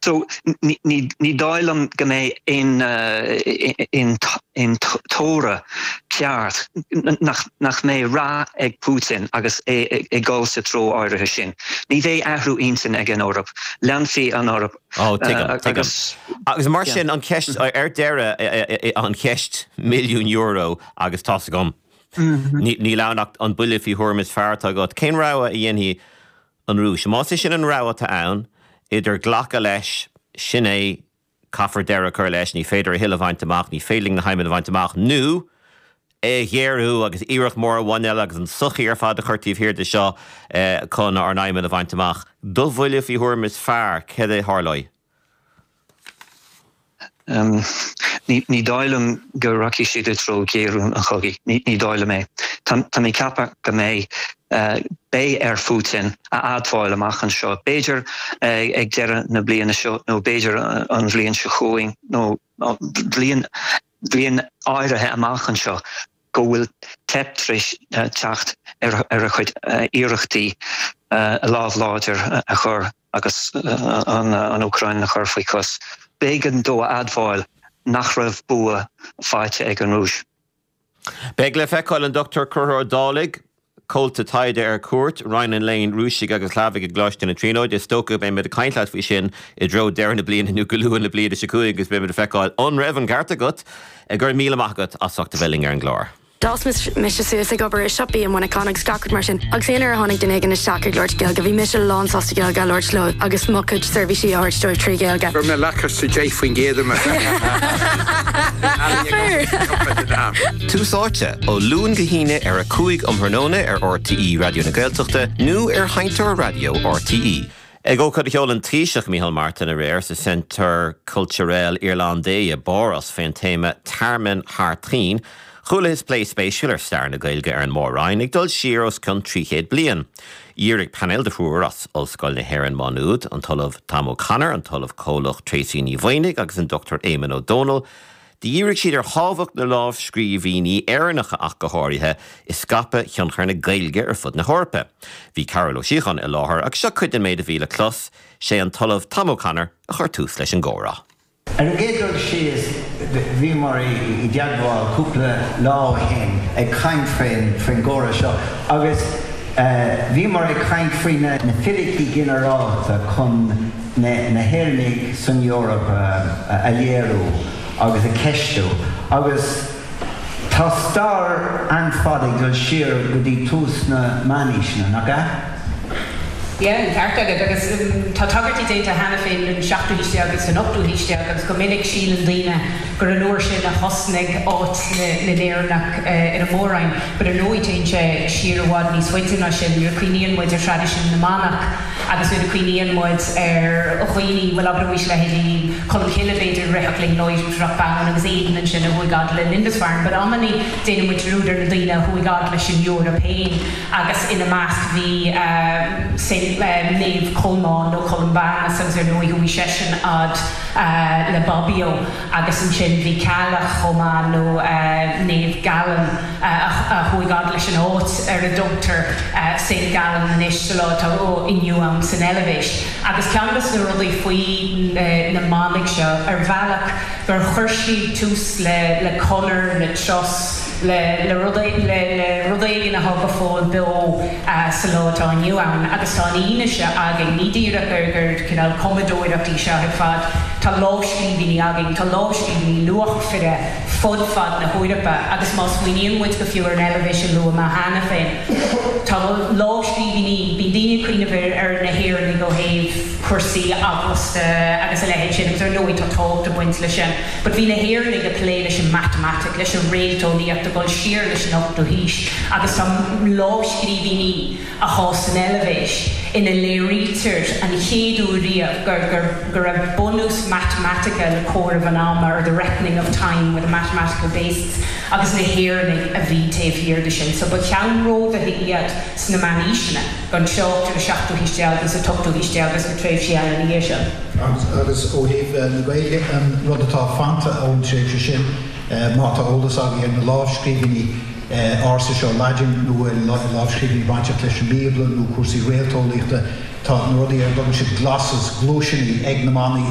So ní dóigh liom go mbeidh aon aon toradh ceart nach mbeidh rath ag Putin agus é ag dul sa treo áirithe sin. Ní bheidh athrú intinn ag an Eoraip. Leanfaidh an Eoraip Ó, tuigim, tuigim. Agus mar sin, an cheist, ar deireadh, an cheist €1,000,000 agus tá's agam, níl ann ach an buille faoi thuairim is fearr atá agat, cén rogha a dhéanfaidh an Rúis? Más é sin an rogha atá ann, idir glacadh leis, sin é, caithfear deireadh a chur leis, ní féidir a thuilleadh a bhaint amach, ní féidir linn na haidhmeanna a bhaint amach, nó é a ghéarú agus iarracht mór amháin eile agus an tsochaí ar fad a chur taobh thiar de seo chun ár n-aidhmeanna a bhaint amach. Do bhuille faoi thuairim is fearr, céard a tharlóidh? Ní dóigh liom go rachaidh siad i dtreo ghéarú an chogaidh. Ní dóigh liom é. Tá mé ag ceapadh go mbeidh beidh ar Phutin a admháil amach anseo, b'fhéidir ag deireadh na bliana seo nó b'fhéidir an bhliain seo chugainn nó bliain bliain áirithe amach anseo, go bhfuil teip tar éis teacht ar a chuid iarrachtaí lámh láidir a chur agus an Úcráin a chur faoi chois. B'éigean dó a admháil nach raibh bua faighte ag an Rúis. Beidh le feiceáil an Dr Conchúr Ó Dálaigh, Comhalta Taighde ar Cuairt, Roinn an Léinn Rúisigh agus Shlavaigh i gColáiste na Tríonóide. Is dócha go mbeimid ag caint leat faoi sin i dtreo deireadh na bliana nó go luath na bliana seo chugainn agus beimid ag feiceáil an raibh an ceart agat. Go raibh míle maith agat as ucht a bheith linn ar an gclár. D'fhás mise suas ag obair i siopaí i Muineachán agus gach rud mar sin agus aon uair a tháinig duine éigin isteach ag labhairt Gaeilge bhí mise lán sásta Gaeilge a labhairt leo agus mo chuid seirbhísí a thabhairt dóibh trí Ghaeilge. Chuir mé lacáiste 10% i mo Tús Áite, ó Luan go hAoine ar 5 um thráthnóna ar RTÉ Raidió na Gaeltachta nó ar Sheinnteoir Raidió RTÉ. Ag ócáid a sheol an Taoiseach Micheál Martin aréir sa Centre Culturel Irlandais i bPáras fén téama 'Tearmann Thar Toinn', chualathas plé spéisiúil ar stair na Gaeilge ar an Mór-Roinn ag dul siar os cionn 300 bliain. Dhírigh painéal de thriúr as Ollscoil na hÉireann Má Nuad, an tOllamh Tom O'Connor, an tOllamh Comhlach Tracey Ní Mhaonaigh agus an Dr Éamonn Ó Dónaill, Dhírigh siad ar thábhacht na lámhscríbhinní Éireannacha ach go háirithe i scaipeadh thionchar na Gaeilge ar fud na hEorpa. Bhí Cearbhall Ó Síocháin i láthair agus seo cuid den méid a bhí le clos, sé an tOllamh Tom O'Connor a chuir tús leis an gcomhrá. Ar an gcéad dul síos, bhíomar i dteagmháil cúpla lá ó shin ag caint faoin gcomhrá seo agus bhíomar ag caint faoi na fíricí ginearálta chun na hÉireannaigh san Eoraip a léiriú agus a cheistiú agus tá stair an-fhada ag dul siar go dtí tús na meánaoiseanna, nach ea? Yeah, an ceart agat. Agus tá tagairtí déanta cheana féin don seachtú haois déag agus don ochtú haois déag agus go minic síleann daoine gur an uair sin a thosnaigh áit na nÉireannach ar an Mór-Roinn. But ar ndóigh téann sé siar i bhfad níos faide ná sin. Nuair a cuimhníonn muid ar thraidisiún na manach, Agus nuair a cuimhníonn muid ar dhaoine, bhuel abraimis leithéidí Colm Cille b'fhéidir, a rithfeadh linn láithreach bonn agus Aidan ansin a chuaigh fhad le Lindisfarne, but amannaí déanann muid dearúd ar na daoine a chuaigh fhad leis an Eoraip féin agus ina measc bhí Saint, Naomh Colmán nó Columbanus agus ar ndóigh chuaigh seisean fhad le Bobbio agus ansin bhí Ceallach chomh maith nó Naomh Gallen. a chuaigh fhad leis an áit ar a dtugtar Saint Gallen anois sa lá atá inniu ann san Eilvéis. Agus ceann de na rudaí faoi na manaigh seo, ar bhealach, gur chuir siad tús le conair, le turas, le rud éigin atá go fóill beo sa lá atá inniu ann. Agus tá an fhianaise againn, ní díreach gur cineál cumadóireacht í seo ar fad, tá lámhscríbhinní againn, tá lámhscríbhinní luachmhara, fud fad na hEorpa agus má smaoiníonn muid go fiú ar an Eilvéis a luaigh mé cheana féin, tá lámhscríbhinní, bíonn daoine ag cuimhneamh ar na hÉireannaigh ó thaobh cúrsaí eaglasta agus a leithéid sin agus ar ndóigh tá tábhacht ag baint leis sin but bhí na hÉireannaigh ag plé leis an matamaitic, leis an réalteolaíocht ag dul siar leis an ochtú haois agus tá lámhscríbhinní. atá san Eilvéis, ina léirítear an chéad uair riamh gur go raibh bunús matamaitice le comhaireamh an ama, or the reckoning of time with a mathematical basis, agus na hÉireannaigh a bhí taobh thiar de sin. So ba cheannródaithe iad sna meánaoiseanna, gan trácht ar an seachtú haois déag agus an t-ochtú haois déag agus na tréimhsí eile ina dhiaidh sin. Agus ó thaobh na Gaeilge, an rud atá fanta ón tréimhse sin, má tá eolas agaibh ar na lámhscríbhinní, ársa seo, Laidin nó lámhscríbhinní bainteach leis an mBíobla nó cúrsaí réalteolaíochta. Tá na rudaí ar a dtugann siad glosses, gluaiseanna, ag na manaigh.